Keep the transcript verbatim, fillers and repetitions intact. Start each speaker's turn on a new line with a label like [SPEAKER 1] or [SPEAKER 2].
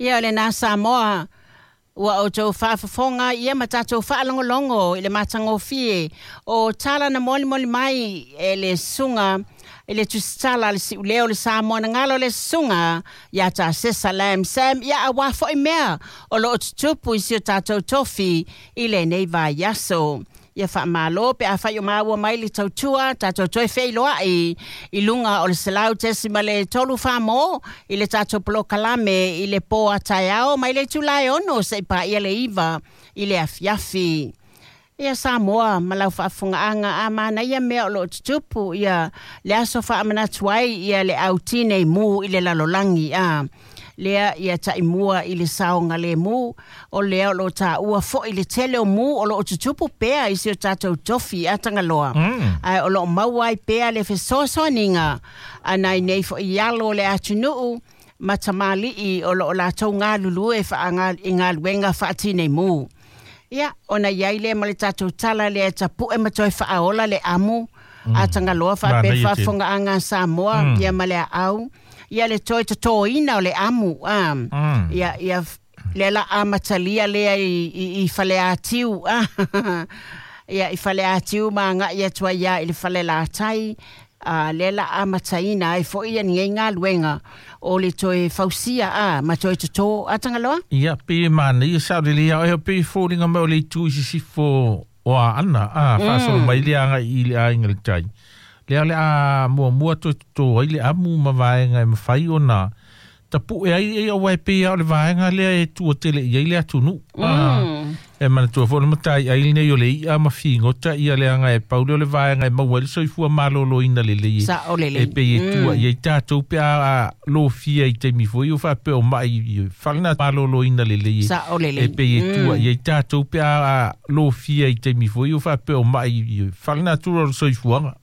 [SPEAKER 1] Ia o lena Samoa ua outou faafofoga ia ma tatou faalogologo i le matagofie o tala na molimoli mai e le susuga i le tusitala le siuleo le Samoa na galo le susuga ia Tasesa Lam Sam ia auā fo'i mea o loo tutupu i si o tatou tofi i lenei vaiaso. Ia faamalo pe afai o maua mai le tautua tatou toe feiloai i luga o le selau tesimale tolu famo i le tatou polokalame i le po a taeao mai le itula e ono se'i paia le iva i le afiafi. Ia Samoa ma lau faafofogaaga a manaia mea o loo tutupu ia le aso faamanatu ai ia le au tinei mu i le lalolagi a lea ia taimua i le saogalemu o lea o loo taua fo'i le tele o mu o loo tutupu pea i si o tatou tofi a Tagaloa
[SPEAKER 2] Mm.
[SPEAKER 1] ae o loo maua ai pea le fesoasoaniga a nai nei fo'i alo o le atunuu ma tamalii o loo latou galulue faaaga i galuega faatinei mu. Ia, ona iai lea ma le tatou tala lea tapu'e ma toe faaola le amu a Tagaloa faapea
[SPEAKER 2] Manaia tele.
[SPEAKER 1] faafofogaaga a Samoa
[SPEAKER 2] Mm.
[SPEAKER 1] ia ma le aau ia le toe totoina o le amu a
[SPEAKER 2] Mm.
[SPEAKER 1] ia ia lea la amatalia lea i, i, i Faleatiu a ia i Faleatiu ma aga'i atu ai ia i le Falelatai a lea la amataina ai fo'i ia nei galuega o le toe fausia a ma toe totō a Tagaloa.
[SPEAKER 2] Ia pe manaia sao lelei a oe pe foliga mai o le itu i sisifo o Aana a faasolo mai le aga'i i le aiga i le tai. Lea o le a muamua toe totō ai le amu ma vaega e mafai ona tapu'e ai e auā e pei a o le vaega lea e tua tele i ai le atunuu.
[SPEAKER 1] Mm.
[SPEAKER 2] E manatua foi le mataiai lenei o le i'a ma figota ia leaga e pau lea o le vaega e maua ai le soifua malōlōina lelei e
[SPEAKER 1] Sa'o
[SPEAKER 2] e
[SPEAKER 1] lelei.
[SPEAKER 2] pei e tua i ai tatou pe a lofia i taimi foi o faapea o ma'i i falena malōlōina lelei e
[SPEAKER 1] Sa'o lelei.
[SPEAKER 2] e pei e tua i ai tatou pe a lofia i taimi foi o faapea o ma'i i falenatura o le soifuaga.